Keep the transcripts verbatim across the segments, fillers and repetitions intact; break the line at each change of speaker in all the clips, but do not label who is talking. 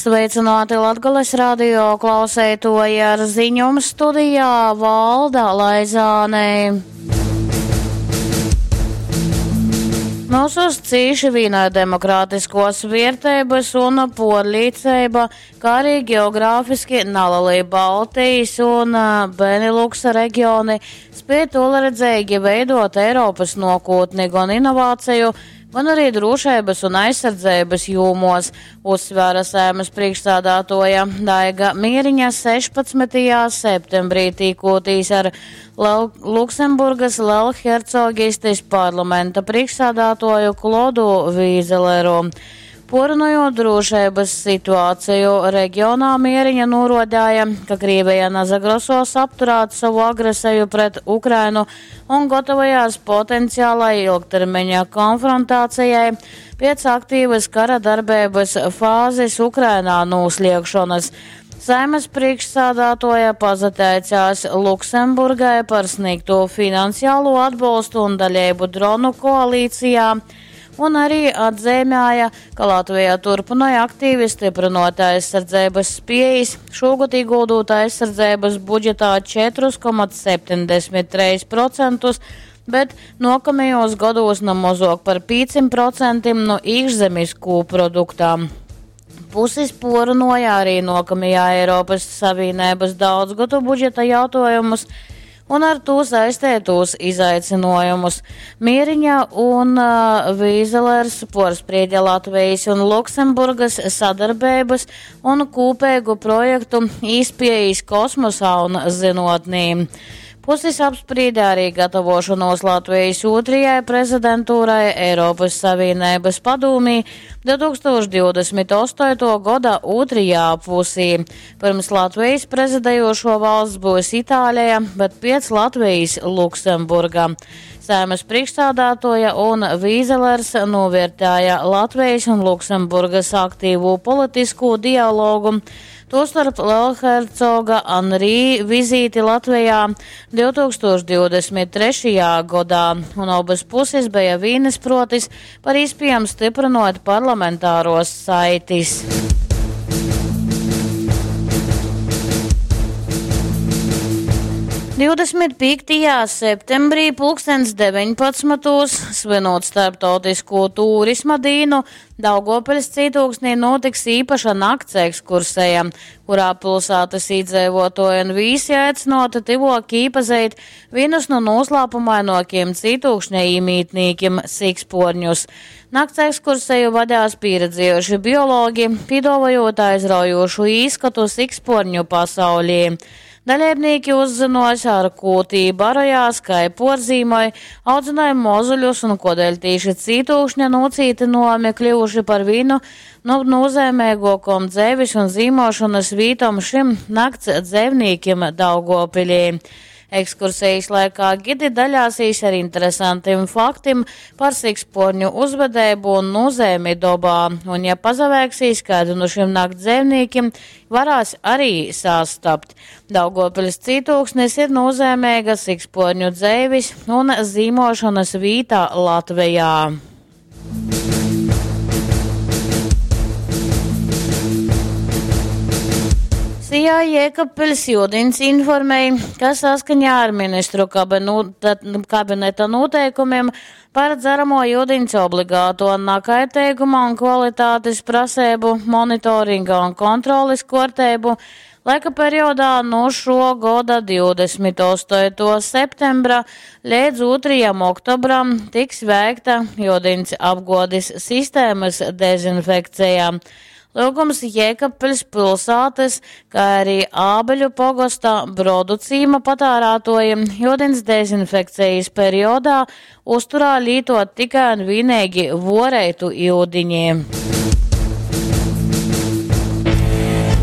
Sveicināti Latgales radio klauseitoji ar ziņom studijā Valda Laizāne. Mūsus cīši vīnoja demokrātiskos vērtības un porlīceiba, kā arī geogrāfiski nalelī Baltijas un Beneluksa reģioni spēj toleredzīgi veidot Eiropas nokūtni gan inovāciju, gan arī drošības un aizsardzības jūmos, uzsvēra Saeimas priekšsādātoja Daiga Mieriņa sešpadsmitajā septembrī tīkotīs ar Lel Luksemburgas Lelhercogistis parlamenta priekšsādātoju Klodu Vīzeleru. Porunojot drošības situāciju reģionā, Mieriņa norodāja, ka Krievija nazagrosos apturēt savu agresiju pret Ukrainu un gatavojās potenciālai ilgtermiņa konfrontācijai pēc aktīvas kara darbības fāzes Ukrainā nūsliekšanas. Saeimas priekšsādātoja pazateicās Luksemburgai par sniegto finansiālo atbalstu un daļību dronu koalīcijā, un arī atzīmēja, ka Latvija turpināja aktīvi stiprinot aizsardzības spējas, šogad ieguldot aizsardzības budžetā četrus komats septiņdesmit trīs procentus, bet nākamajos gados no mazāk par pieciem procentiem no iekšzemes kūproduktā. Puses porunoja arī nākamajā Eiropas Savienības daudzgadu budžeta jautājumus un ar to saistētos izaicinājumus. Mieriņa un uh, Vīzelers porspriedja Latvijas un Luksemburgas sadarbības un kopīgu projektu īspējas kosmosā un zinotnī. Puses apsprieda arī gatavošanos Latvijas otrajai prezidentūrai Eiropas Savienības padomī divtūkstoš divdesmit astoto gada otrajā pusī. Pirms Latvijas prezidējošo valsts būs Itālija, bet pēc Latvijas Luksemburga. Saeimas priekšsādātoja un Vīzelers novērtēja Latvijas un Luksemburgas aktīvo politisko dialogu, tostarp Lelhercoga Anrī vizīti Latvijā divtūkstoš divdesmit trešajā gadā, un abas puses bija vienisprotis par iespējām stiprinot parlamentāros saitis. divdesmit piektajā septembrī pulkstens deviņpadsmitos, svinot starptautisko turisma dienu, Daugavpils cītūksnī notiks īpaša nakts ekskursija, kurā pilsētas iedzīvotāji un visi aicināti tivok iepazīt vienus no noslēpumainokiem cītūkšņa iemītniekiem siksporņus. Nakts ekskursiju vadās pieredzējuši biologi, piedāvājot aizraujošu īskatu siksporņu pasaulī. Dalībnieki uzzinos, ar ko tī barojās, kai porzīmoj, audzināja mozuļus un kodēļ tīši cītūkšņa nocītinojumi kļuvuši par vienu no nozīmīgākām dzēvis un zīmošanas vītom šim nakts dzēvnīkiem Daugavpilī. Ekskursijas laikā gidi daļāsīs ar interesantiem faktiem par siksporņu uzvedību un nozīmi dobā, un ja pazavēksīs kādu no šiem nakts dzīvniekiem, varās arī sastapt. Daugavpils cītūksnis ir nozīmīga siksporņu dzēvis un zīmošanas vīta Latvijā. Sijā Jēkabpils Judins informēja, ka saskaņā ar ministru kabenu-, kabineta noteikumiem par dzeramo ūdens obligāto nakaitīguma un kvalitātes prasību, monitoringa un kontroles kārtību laika periodā no šo gada divdesmit astoto septembra līdz otrajam oktobram tiks veikta ūdens apgādes sistēmas dezinfekcija. Lūgums Jēkabpils pilsētas, kā arī Ābeļu pogosta Brodu cīma patērētojiem ūdens dezinfekcijas periodā uzturā lītot tikai un vienīgi vorētu ūdiņi.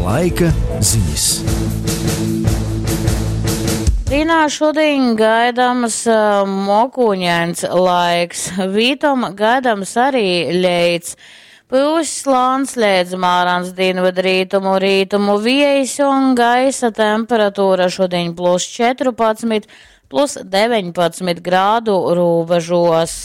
Laika ziņas.
Rīnā šodien gaidams, eh, mokūņains laiks, vītom gaidams arī leits. Pūs slāns līdz mārans dienvidrītumu rītumu viejas un gaisa temperatūra šodien plus četrpadsmit, plus deviņpadsmit grādu robežos.